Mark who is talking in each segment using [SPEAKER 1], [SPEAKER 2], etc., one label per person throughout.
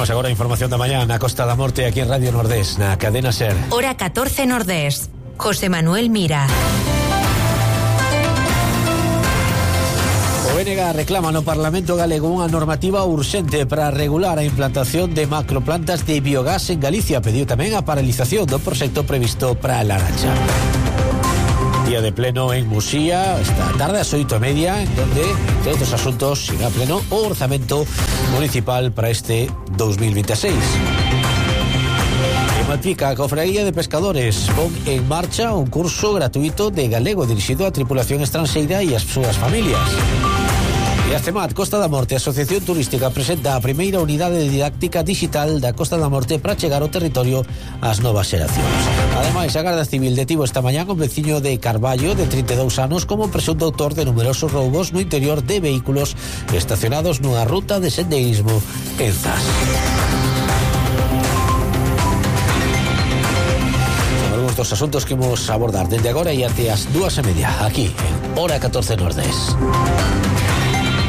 [SPEAKER 1] Temos agora a información da mañá na Costa da Morte aquí en Radio Nordés, na cadena SER.
[SPEAKER 2] Hora 14 Nordés. José Manuel Mira.
[SPEAKER 1] O BNG reclama no Parlamento galego unha normativa urxente para regular a implantación de macroplantas de biogás en Galicia. Pediu tamén a paralización do proxecto previsto para a Laracha. Día de pleno en Muxía esta tarde ás 8:30, en donde, entre outros asuntos, irá pleno o orzamento municipal para este 2026. En Malpica, a Cofradía de Pescadores pon en marcha un curso gratuito de galego dirixido á tripulación estranxeira e ás súas familias. E a CEMAT Costa da Morte, Asociación Turística, presenta a primeira unidade didáctica digital da Costa da Morte para chegar ao territorio ás novas xeracións. Ademais, a Garda Civil detivo esta mañá un veciño de Carballo de 32 anos como presunto autor de numerosos roubos no interior de vehículos estacionados nunha ruta de sendeirismo en Zas. Son algúns dos asuntos que vamos a abordar desde agora e até as 2:30 aquí en Hora 14 Nordés.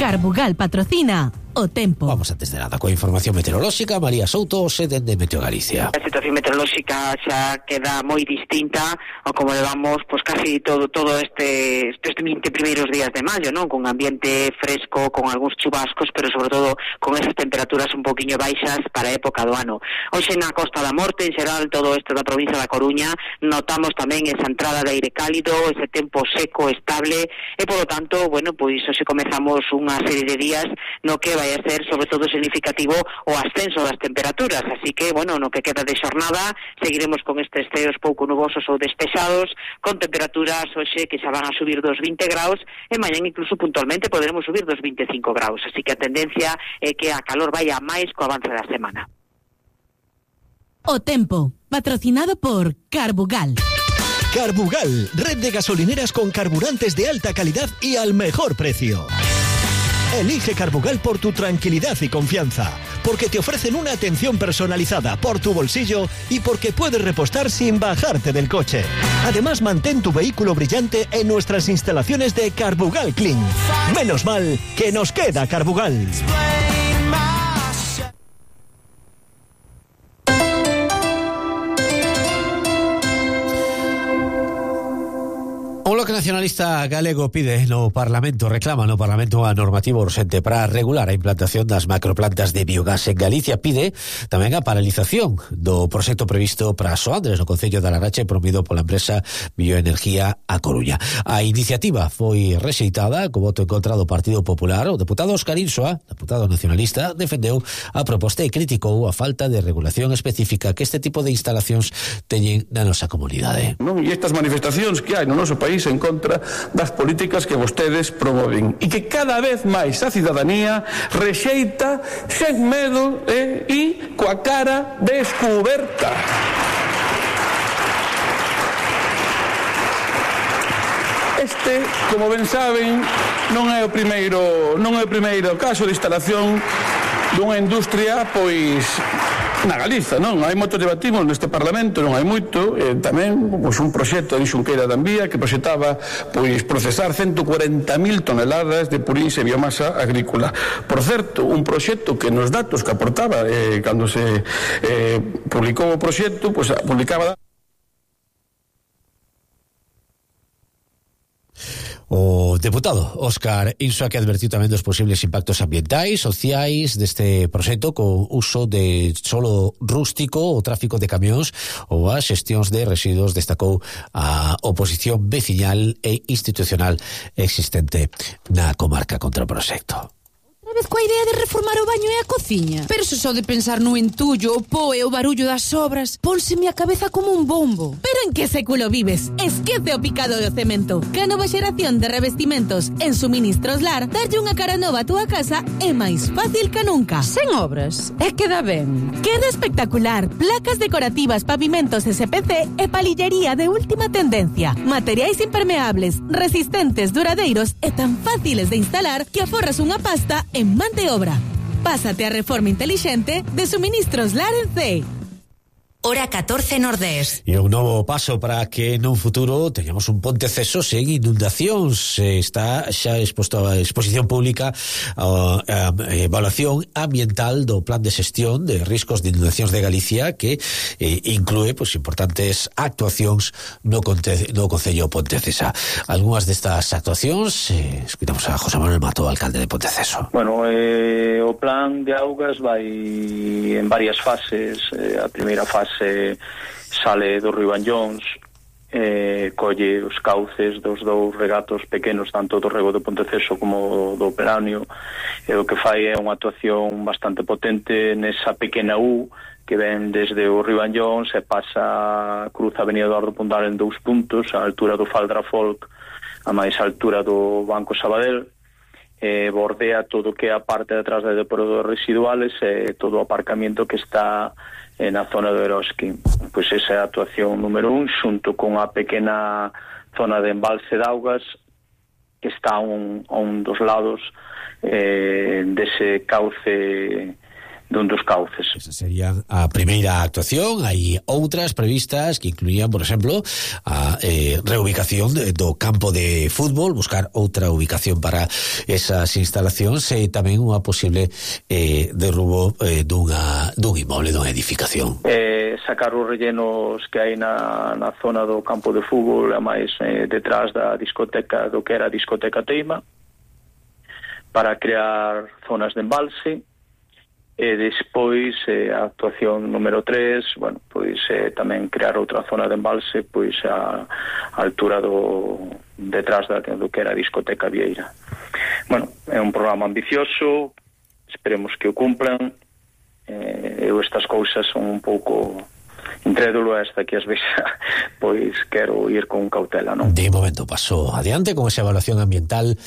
[SPEAKER 3] Carbugal patrocina o tempo.
[SPEAKER 1] Vamos antes de nada coa información meteorolóxica. María Souto, sede de Meteo Galicia.
[SPEAKER 4] A situación meteorolóxica xa queda moi distinta ao como levamos pois casi todo estes 20 primeiros días de maio, non? Con ambiente fresco, con algúns chubascos, pero sobre todo con esas temperaturas un poquinho baixas para a época do ano. Hoxe na Costa da Morte, en xeral, todo isto da provincia da Coruña, notamos tamén esa entrada de aire cálido, ese tempo seco, estable, e polo tanto, bueno, pois hoxe comezamos unha serie de días no que vai a ser sobre todo significativo o ascenso das temperaturas, así que, bueno, no que queda de xornada seguiremos con estes ceos pouco nubosos ou despexados, con temperaturas hoxe que xa van a subir dos 20 graus e mañan incluso puntualmente poderemos subir dos 25 graus, así que a tendencia é que a calor vaya máis co avance da semana.
[SPEAKER 3] O tempo, patrocinado por Carbugal.
[SPEAKER 5] Carbugal, red de gasolineras con carburantes de alta calidad y al mejor precio. Elige Carbugal por tu tranquilidad y confianza, porque te ofrecen una atención personalizada por tu bolsillo y porque puedes repostar sin bajarte del coche. Además, mantén tu vehículo brillante en nuestras instalaciones de Carbugal Clean. Menos mal que nos queda Carbugal.
[SPEAKER 1] O Bloque Nacionalista Galego pide no Parlamento, reclama no Parlamento a normativa urxente para regular a implantación das macroplantas de biogás en Galicia. Pide tamén a paralización do proxecto previsto para Soandres no Concello de Laracha, promovido pola empresa Bioenergía A Coruña. A iniciativa foi rexeitada co voto en contra do Partido Popular. O deputado Óscar Insua, deputado nacionalista, defendeu a proposta e criticou a falta de regulación específica que este tipo de instalacións teñen na nosa comunidade.
[SPEAKER 6] Non? E estas manifestacións que hai no noso país en contra das políticas que vostedes promoven e que cada vez máis a cidadanía rexeita sen medo e coa cara descuberta. Este, como ben saben, non é o primeiro caso de instalación dunha industria, pois, na Galiza, non? Hai moito debatimos neste Parlamento, non hai moito, tamén pois, un proxecto de Xunqueira de Ambía que proxectaba pois, procesar 140.000 toneladas de purins e biomasa agrícola. Por certo, un proxecto que nos datos que aportaba cando se publicou o proxecto, pois, publicaba...
[SPEAKER 1] O deputado Óscar Insua, que advertiu tamén dos posibles impactos ambientais, sociais deste proxecto co uso de solo rústico, o tráfico de camións ou as xestións de residuos, destacou a oposición veciñal e institucional existente na comarca contra o proxecto.
[SPEAKER 7] Vez coa idea de reformar o baño e a cociña. Pero se só de pensar no entullo, o po e o barullo das obras, pónseme a cabeza como un bombo.
[SPEAKER 3] Pero en que século vives? Esquece o picado do cemento. Que a nova xeración de revestimentos en Suministros Lar darlle unha cara nova a túa casa é máis fácil que nunca.
[SPEAKER 7] Sen obras, é que dá ben.
[SPEAKER 3] Queda espectacular. Placas decorativas, pavimentos SPC e palillería de última tendencia. Materiais impermeables, resistentes, duradeiros e tan fáciles de instalar que aforras unha pasta en man de obra. Pásate a reforma inteligente de Suministros Lar en C.
[SPEAKER 2] hora 14 Nordés.
[SPEAKER 1] E un novo paso para que nun futuro teñamos un Ponteceso sen inundacións. Está xa exposto a exposición pública a evaluación ambiental do Plan de Xestión de Riscos de Inundacións de Galicia, que inclúe importantes actuacións no Concello Pontecesa. Algúnas destas actuacións escuitamos a José Manuel Mato, alcalde de Ponteceso.
[SPEAKER 8] Bueno, o plan de augas vai en varias fases. A primeira fase sale do Río Anllóns, colle os cauces dos dous regatos pequenos, tanto do rego do Ponteceso como do Peranio, e o que fai é unha actuación bastante potente nesa pequena U que ven desde o Río Anllóns e pasa, cruza a Avenida Eduardo Pondal en 2 puntos, a altura do Faldra Folk, a máis altura do Banco Sabadell, bordea todo o que é a parte de atrás de depuradores residuales e todo o aparcamiento que está na zona do Eroski. Pois esa é a actuación número 1, xunto con a pequena zona de embalse de augas que está a un dos lados dese cauce, dun dos cauces.
[SPEAKER 1] Esa sería a primeira actuación. Hai outras previstas que incluían, por exemplo, a reubicación do campo de fútbol, buscar outra ubicación para esas instalacións e tamén unha posible derrubo dun inmoble, dunha edificación.
[SPEAKER 8] Sacar os rellenos que hai na zona do campo de fútbol, a máis detrás da discoteca, do que era a discoteca Teima, para crear zonas de embalse. E despois a actuación número 3, bueno, pois tamén crear outra zona de embalse pois a altura detrás do que era a discoteca Vieira. Bueno, é un programa ambicioso, esperemos que o cumplan. Eu estas cousas son un pouco incrédulo, hasta que ás veces pois quero ir con cautela, non?
[SPEAKER 1] De momento paso adiante con esa evaluación ambiental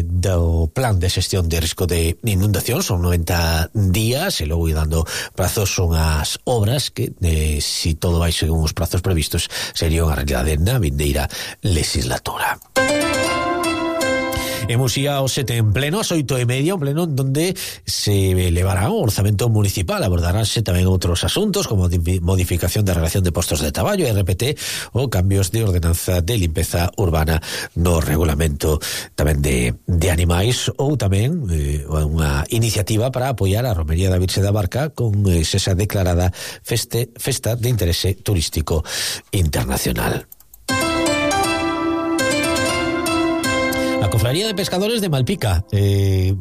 [SPEAKER 1] do Plan de Xestión de Risco de Inundación. Son 90 días e logo ir dando prazos. Son as obras que, si todo vai según os prazos previstos, sería unha realidade na vindeira legislatura. Hemos ido aos 7 en pleno, ás 8:30, un pleno donde se elevará o orzamento municipal. Abordaránse tamén outros asuntos como modificación da relación de postos de traballo, RPT, ou cambios de ordenanza de limpeza urbana no regulamento tamén de animais, ou tamén unha iniciativa para apoiar a Romería da Virxe da Barca con esa declarada festa de interese turístico internacional. A Cofradía de Pescadores de Malpica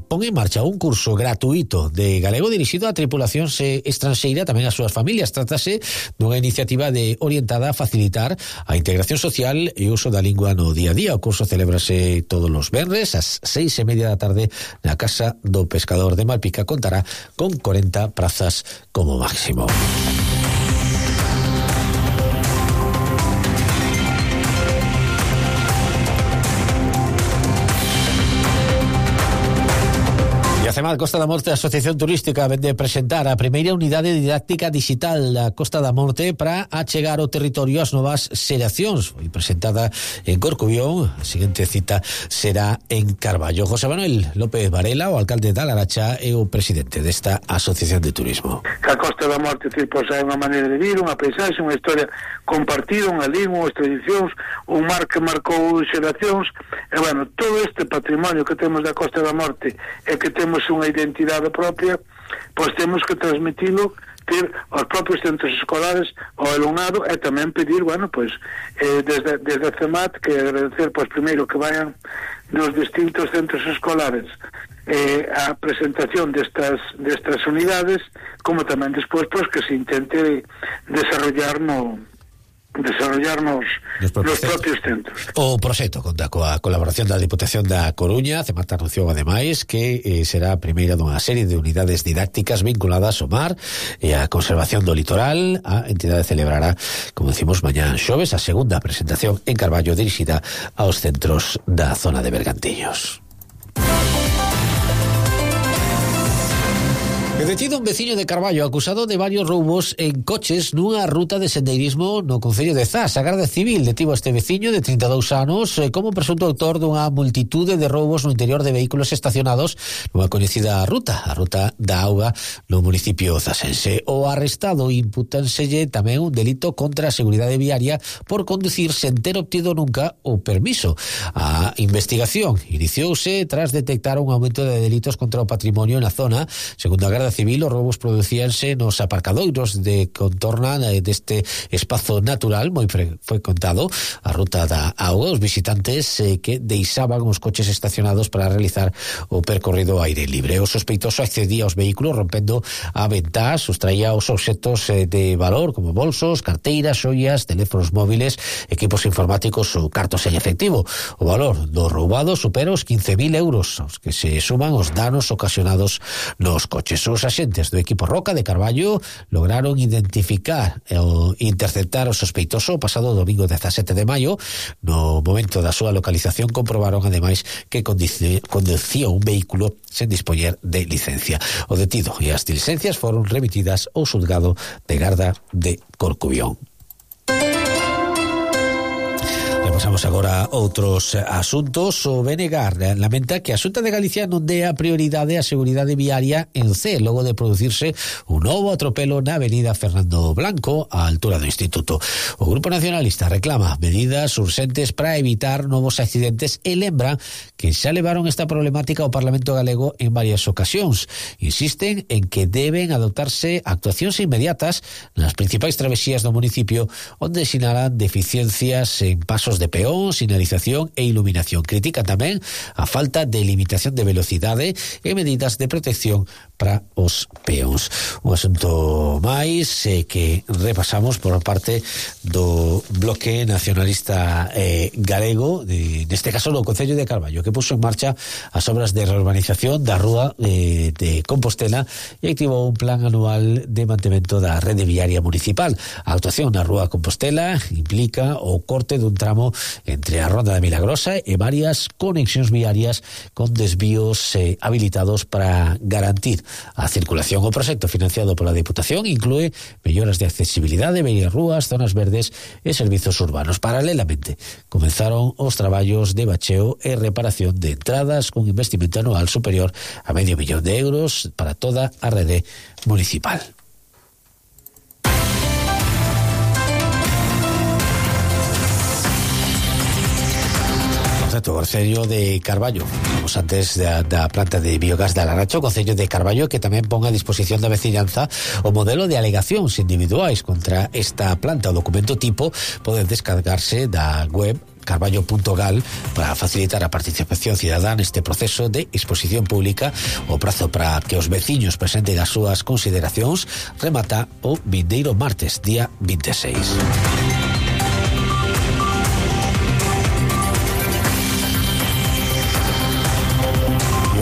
[SPEAKER 1] pon en marcha un curso gratuito de galego dirixido a tripulacións estranxeira, tamén as súas familias. Trátase dunha iniciativa orientada a facilitar a integración social e o uso da lingua no día a día. O curso celébrase todos os venres ás 6:30 da tarde na Casa do Pescador de Malpica. Contará con 40 prazas como máximo. A CEMAD Costa da Morte, a Asociación Turística, vende presentar a primeira unidade didáctica digital da Costa da Morte para achegar o territorio ás novas xeracións. Foi presentada en Corcubión, a seguinte cita será en Carballo. José Manuel López Varela, o alcalde da Laracha, e o presidente desta Asociación de Turismo.
[SPEAKER 9] A Costa da Morte é unha maneira de vir, unha paisaxe, unha historia compartida, unha lingua, unhas tradicións, un mar que marcou xeracións, e bueno, todo este patrimonio que temos da Costa da Morte e que temos unha identidade propia, pois temos que transmitilo, ter aos propios centros escolares, ao alumnado, e tamén pedir, bueno, pois desde a CEMAT, que agradecer, pois primeiro que vayan nos distintos centros escolares a presentación destas unidades, como tamén despois pois que se intente desarrollar nos propios centros.
[SPEAKER 1] O proxecto conta coa colaboración da Diputación da Coruña. CEMAT anunciou ademais que será a primeira dunha serie de unidades didácticas vinculadas ao mar e á conservación do litoral. A entidade celebrará, como decimos, mañá xoves, a segunda presentación en Carballo dirixida aos centros da zona de Bergantiños. Detido un veciño de Carballo acusado de varios roubos en coches nunha ruta de sendeirismo no concello de Zas. A Garda Civil detivo a este veciño de 32 anos como presunto autor dunha multitude de roubos no interior de vehículos estacionados nunha coñecida ruta, a ruta da auga no municipio zasense. O arrestado impútanselle tamén un delito contra a seguridade viaria por conducir sen ter obtido nunca o permiso. A investigación iniciouse tras detectar un aumento de delitos contra o patrimonio na zona. Segundo a Garda Civil, os roubos producíanse nos aparcadoiros de contorna deste espazo natural moi frecuentado, a ruta da auga. Os visitantes que deixaban os coches estacionados para realizar o percorrido ao aire libre. O sospeitoso accedía aos vehículos rompendo a ventá, sustraía os obxectos de valor como bolsos, carteiras, xoias, teléfonos móviles, equipos informáticos ou cartos en efectivo. O valor do roubado supera os 15.000 euros, aos que se suman os danos ocasionados nos coches. Os axentes do equipo Roca de Carballo lograron identificar e interceptar o sospeitoso o pasado domingo 17 de maio. No momento da súa localización comprobaron ademais que conducía un vehículo sen dispoñer de licencia. O detido e as licencias foron remitidas ao xulgado de Garda de Corcubión. Pasamos agora a outros asuntos. O BNG lamenta que a Xunta de Galicia non dé a prioridade á seguridade viaria en C, logo de producirse un novo atropelo na avenida Fernando Blanco, á altura do Instituto. O Grupo Nacionalista reclama medidas urxentes para evitar novos accidentes e lembra que xa levaron esta problemática ao Parlamento Galego en varias ocasións. Insisten en que deben adoptarse actuacións inmediatas nas principais travesías do municipio, onde sinalan deficiencias en pasos de peón, sinalización e iluminación. Critica tamén a falta de limitación de velocidade e medidas de protección para os peóns. Un asunto máis que repasamos por parte do Bloque Nacionalista Galego, neste caso no Concello de Carballo, que puso en marcha as obras de reurbanización da rúa de Compostela e activou un plan anual de mantemento da rede viaria municipal. A actuación na rúa Compostela implica o corte dun tramo entre a Ronda da Milagrosa e varias conexións viarias con desvíos habilitados para garantir a circulación. O proxecto financiado pola Diputación inclúe melloras de accesibilidade, bellas rúas, zonas verdes e servizos urbanos. Paralelamente, comenzaron os traballos de bacheo e reparación de entradas con investimento anual superior a €500.000 para toda a rede municipal. O Concello de Carballo, vamos antes da planta de biogás de Alaracho, o Concello de Carballo que tamén pon a disposición da veciñanza o modelo de alegacións individuais contra esta planta. O documento tipo pode descargarse da web carballo.gal para facilitar a participación cidadá neste proceso de exposición pública. O prazo para que os veciños presenten as súas consideracións remata o vindeiro martes, día 26.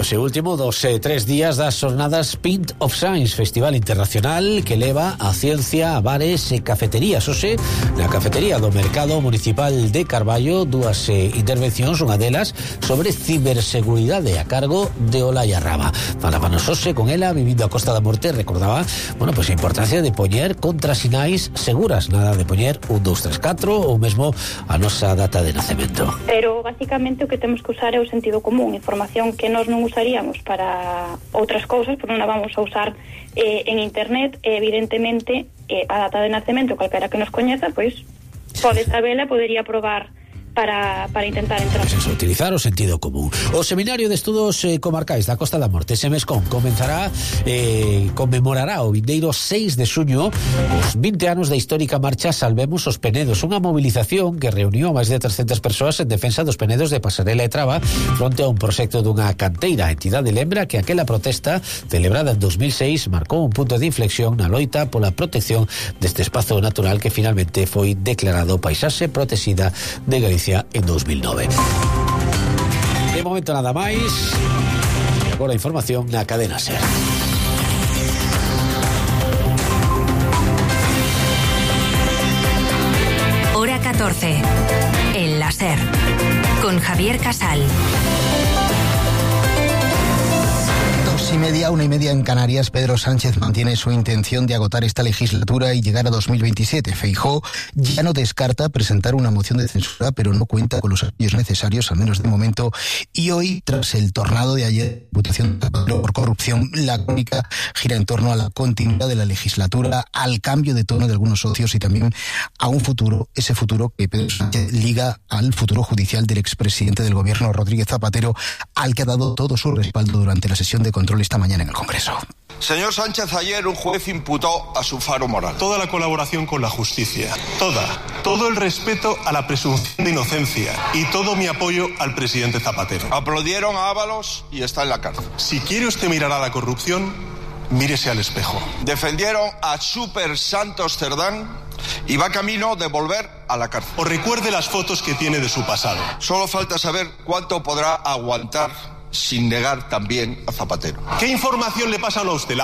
[SPEAKER 1] E último dos 3 días das jornadas Pint of Science, Festival Internacional que leva a ciencia a bares e cafeterías. Oxe, na cafetería do Mercado Municipal de Carballo, dúas intervencións, unha delas sobre ciberseguridade a cargo de Olaya Raba. Falábanos hoxe con ela, vivindo a Costa da Morte, recordaba, a importancia de poñer contrasinais seguras, nada de poñer 1, 2, 3, 4 ou mesmo a nosa data de nacemento.
[SPEAKER 10] Pero basicamente o que temos que usar é o sentido común, información que nós non usaríamos para outras cousas, porque non a vamos a usar en internet, e evidentemente a data de nacemento, calquera que nos coñeza, pois pode sabela, podería probar para intentar entrar. Pues
[SPEAKER 1] eso, utilizar o sentido común. O Seminario de Estudos Comarcais da Costa da Morte, Semescon, conmemorará o vindeiro 6 de xuño os 20 anos da histórica marcha Salvemos os Penedos, unha movilización que reuniu a máis de 300 persoas en defensa dos penedos de Pasarela e Traba fronte a un proxecto dunha canteira. A entidade lembra que aquela protesta celebrada en 2006 marcou un punto de inflexión na loita pola protección deste espazo natural que finalmente foi declarado paisaxe protexida de Galicia en 2009. De momento nada máis. E agora a información na cadena SER.
[SPEAKER 2] Hora 14. En la SER. Con Javier Casal.
[SPEAKER 11] 2:30, 1:30 en Canarias. Pedro Sánchez mantiene su intención de agotar esta legislatura y llegar a 2027. Feijóo ya no descarta presentar una moción de censura, pero no cuenta con los apoyos necesarios, al menos de momento. Y hoy, tras el tornado de ayer, votación por corrupción, la crónica gira en torno a la continuidad de la legislatura, al cambio de tono de algunos socios y también a un futuro, ese futuro que Pedro Sánchez liga al futuro judicial del expresidente del gobierno, Rodríguez Zapatero, al que ha dado todo su respaldo durante la sesión de control esta mañana en el Congreso.
[SPEAKER 12] Señor Sánchez, ayer un juez imputó a su faro moral
[SPEAKER 13] toda la colaboración con la justicia, todo el respeto a la presunción de inocencia y todo mi apoyo al presidente Zapatero.
[SPEAKER 12] Aplaudieron a Ábalos y está en la cárcel.
[SPEAKER 13] Si quiere usted mirar a la corrupción, mírese al espejo.
[SPEAKER 12] Defendieron a Super Santos Cerdán y va camino de volver a la cárcel.
[SPEAKER 13] O recuerde las fotos que tiene de su pasado.
[SPEAKER 12] Solo falta saber cuánto podrá aguantar sin negar también a Zapatero.
[SPEAKER 13] ¿Qué información le pasan a usted?